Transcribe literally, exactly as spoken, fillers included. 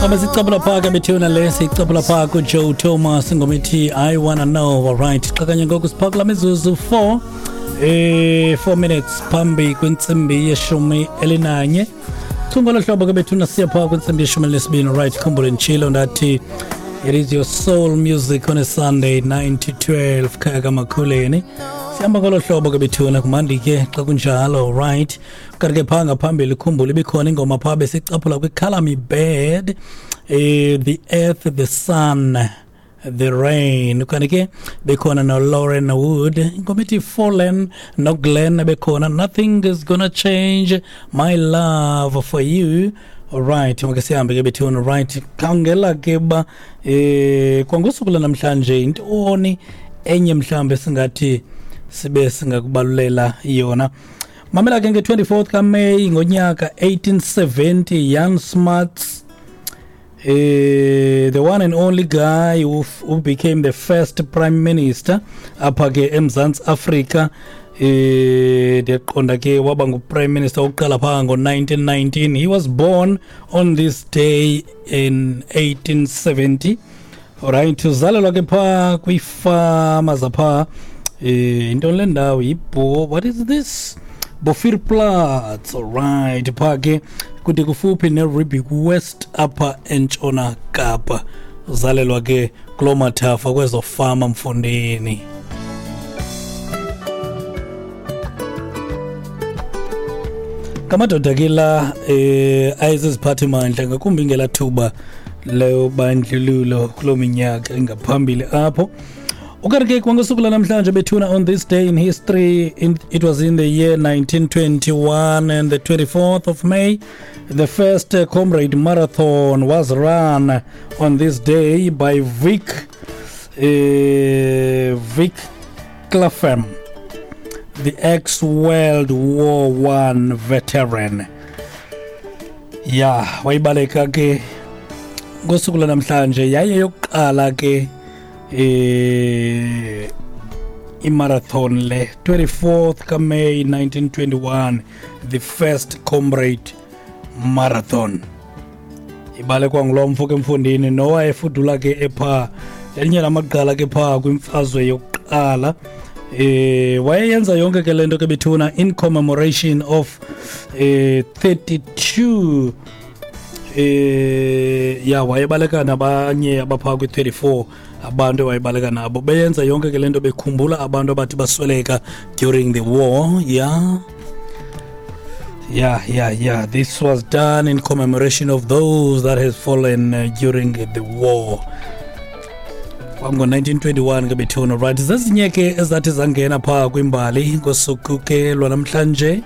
Abasicabula phaka bethuna le sicabula phaka uJoe Thomas ingoma ithi I Wanna Know. Alright, xa kanye ngoku siphakula mizuzu four eh four minutes phambi kwentsimbi yeshumi elinanye. Thungolo hlobo ke bethuna siya phaka kwentsimbi yeshumi elinesibini. Right, khumbule nditshilo ndathi it is your soul music on a Sunday nine to twelve khaya kaMakhuleni. Sihamba ngolo hlobo ke bethuna kumandi ke xa kunjalo. Right, kanti ke phaa ngaphambili khumbule ibikhona ingoma phaa besicaphula kwi-Colour Me Badd, eh the earth, the sun, the rain. Kanti ke bekhona no Lauren Wood ingoma ithi Fallen, no Glenn bekhona Nothing Is Gonna Change My Love For You. Alright, make sihambe ke bethuna. Right, khangela ke ba eh kwangosuku lanamhlanje intoni enye mhlambe singathi sibe singakubalulela yona. Mamela ke nge-twenty-fourth kaMeyi ngonyaka eighteen seventy, Jan Smuts, eh the one and only guy who, who became the first prime minister apha ke eMzantsi Afrika. Eh ndiyaqonda ke waba ngu-prime minister wokuqala phaa ngo-nineteen nineteen. He was born on this day in eighteen seventy. Alright, uzalelwa ke phaa kwiifama zaphaa eh intoni le ndawo yibo, what is this? Bofirplaats. Alright, phaa ke kude kufuphi neRiebeek West apha eNtshona Kapa. Uzalelwa ke kuloo mathafa kwezo fama mfondini. Kamadoda ke la eh ayiziphathimandla ngakumbi ngelathuba lobandlululo kuloo minyaka engaphambili apho. Ukanti ke kwangosuku lanamhlanje bethuna, on this day in history, in, it was in the year nineteen twenty-one and the twenty-fourth of May, the first uh, Comrade Marathon was run on this day by Vic uh, Vic Clapham, the ex-World War One veteran. Yeah, wayibaleka ke ngosuku lanamhlanje yaye yokuqala ke eh imarathon le, twenty-fourth kaMay nineteen twenty-one, the first Comrade Marathon. Ibalekwa ngulo mfo ke mfondini nowayefudula ke epha elinye lamaqala ke pha kwimfazwe yokuqala. Eh wayeyenza yonke ke lento ke bethuna in commemoration of eh thirty-two eh ya wayebaleka nabanye abapha kwi thirty-four abantu wayebaleka nabo beyenza yonke ke lento bekhumbula abantu abathi basweleka during the war. Yeah yeah yeah yeah this was done in commemoration of those that has fallen uh, during the war. Ngo nineteen twenty-one ke bethuna. Right, zezinye ke ezathi zangena pha kwimbali ngosuku ke lwanamhlanje.